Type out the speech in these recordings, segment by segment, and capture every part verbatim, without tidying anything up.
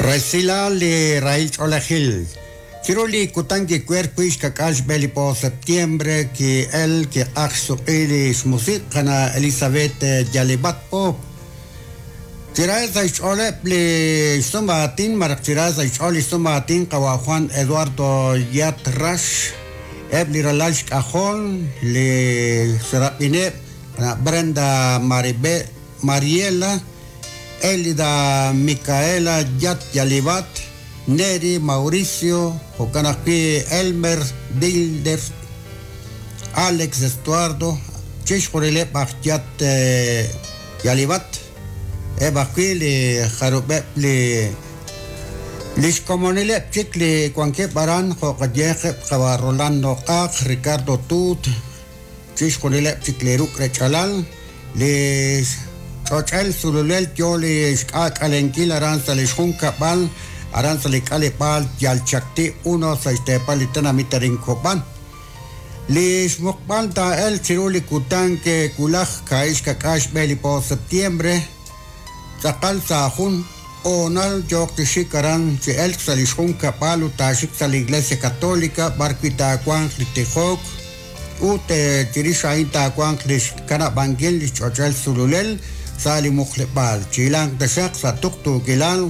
Resilal li rahil ch'oolejil. Chiru li kutan kiwer wi' xkak'al xb'e li po septiembre ki'el kiq'aj xsuq'i li xmusiq qana Elizabeth Yalibat Pop. Chira sa' xch'ooleb' li xsumaatin maraj chira sa' xch'ool li xsumaatin qawa Juan Eduardo Yat Rax eb' li ralal xk'ajol li xrab'ineb' Brenda Maribe Mariela Elida Micaela Yat Yalibat Neri Mauricio jo'kan ajwi' Elmer Dilder Alex Estuardo chixjunileb' aj Yat Yalibat eb' ajwi' li jarub'eb' li lixkomonileb' chik li wankeb' aran jo'qayeqeb' qawa Rolando Q'aq Ricardo Tut chixjunileb' chik li ruk' rech'alal li ch'och'el sululel yo li xk'ak'alenkil aran sa' li xjunkab'al aran sa' li k'aleb'aal Yalchakti uno sa' xteepal li tenamit arin Kob'an. Li xmuqb'al taa'el chiru li kutan ke kulaj ka'ix kak'ax xb'e li po septiembre tz'aqal sa' jun onal yoq tixik aran chi elk sa' li xjunkab'al ut taaxik sa' li Iglesia Católica b'arwi' taawanq li tijok ut chirix a'in taawanq li xkanab'ankil li xch'och'el sululel sa' li muqleb'aal chilanq taxaq sa' tuqtuukilal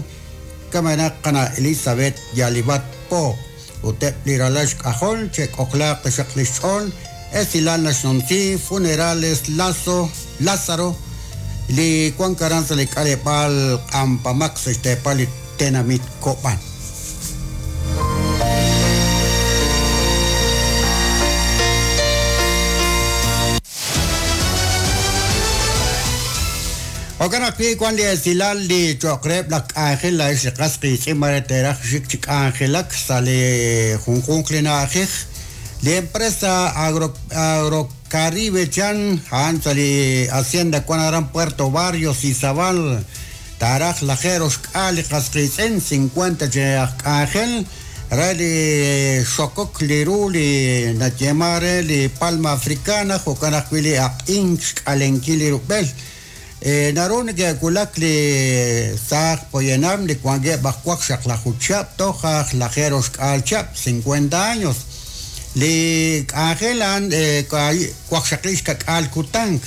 kamenaq qana Elizabeth Yalibat Pop ut eb' li ralal xk'ajol che'k'ojlaaq taxaq li xch'ool esilal naxnumsi Funerales Lazo Lázaro li wank aran sa' li k'aleb'aal Q'ampamaq sa' xteepal li tenamit Kob'an. Jo'kan ajwi' wan li esilal li cho'q reheb' laj k'anjel la'ex li qas qiitz'in mare teeraj xik chi k'anjelak sa' li junjunq li na'ajej li empresa Agro Agrocaribe chan a'an sa' li hacienda wan aran Puerto Barrios Izabal taaraj lajero xk'al li qas qiitz'in cincuenta chi aj k'anjel re li xokok li ru li nayema re li palma africana jo'kan ajwi' li aq'ink xk'alenkil li rub'el. Naru neke'wulak li saaj poyanam li wankeb' aj waqxaqlaju chihab' toj aj lajero xk'al chihab' cincuenta años li k'anjel a'an waqxaqli xkak'al kutank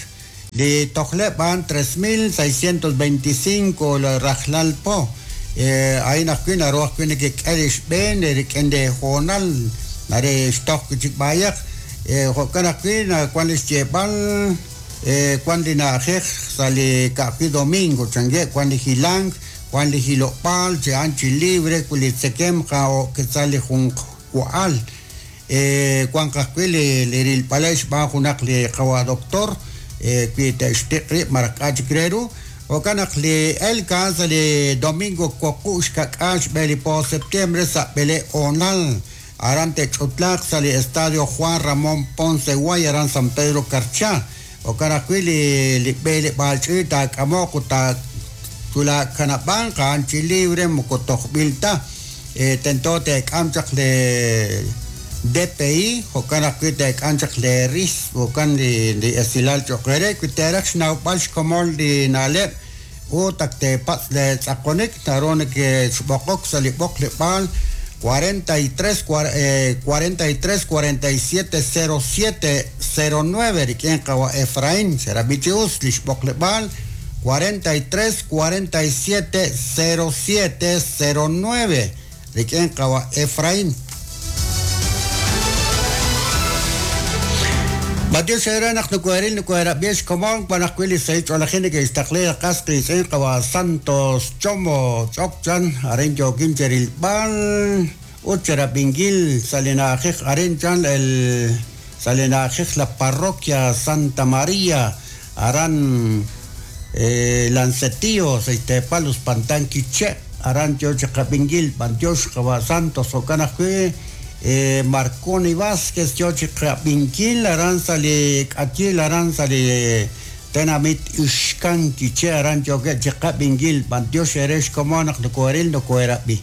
li tojleb' a'an tres mil seiscientos veinticinco rajlal po a'in ajwi' naru ajwi' nekek'e li xb'een rik'in li hoonal nare xtoj wi' chik b'ayaq jo'kan ajwi' wan li xyeeb'al wan li na'ajej sa' li ka'ajwi' domingo chankeb' wan li hilank wan li hilob'aal chi a'an chi libre wi li tzekem ja'o'ketza li junq wa'al wan ajwi' li li rilb'alej xb'aan junaq li qawa doctor wi te'xtiq' rib' maraj k'a' chik re ru jo'kan naq li elk a'an sa' li domingo wuqub' xkak'al xb'e li po septiembre sa' b'ele onal aran te'ch'utlaaq sa' li estadio Juan Ramón Ponce Guay aran San Pedro Carchá jo'kan ajwi' li li b'eleb'aal ch'iich' taak'amoq ut taatulakanab'anq a'an chi libre moko tojb'il ta tento te'k'am chaq li D P I jo'kan ajwi' te'k'am chaq li R I S jo'kan li li esilal cho'q re wi teeraj xnawb'al xkomon li na'leb' ut ak teepatz' li tz'aqonik naru neke'xb'oqok sa' li b'oqleb'aal cuarenta y tres cuarenta y tres cuarenta y siete cero siete cero nueve rik'in qawa Efraín xerab'i chi us li xb'oqleb'aal cuarenta y tres cuarenta y siete cero siete cero nueve rik'in qawa Efraín. Mateo xera naq nukueril nukuerab'i xkomon wan ajwi' li sahil ch'oolejil neke'xtaqli qas qiitz'in qawa Santos Chomo Ch'okchan arin yookin cherilb'al ut cherab'inkil sa' li na'ajej arin chan el sa' li na'ajej la parroquia Santa María aran Lancetillo sa' xteepal Uspantan Quiché aran yo chi qab'inkil b'antiox qawa Santos jo'kan ajwi' Marconi Vázquez yo chi qab'inkil aran sa' li k'ayil aran sa' li tenamit Ixkan Quiché aran yookeb' chi qab'inkil b'antiox ere xkomon naq nukueril nukuerab'i.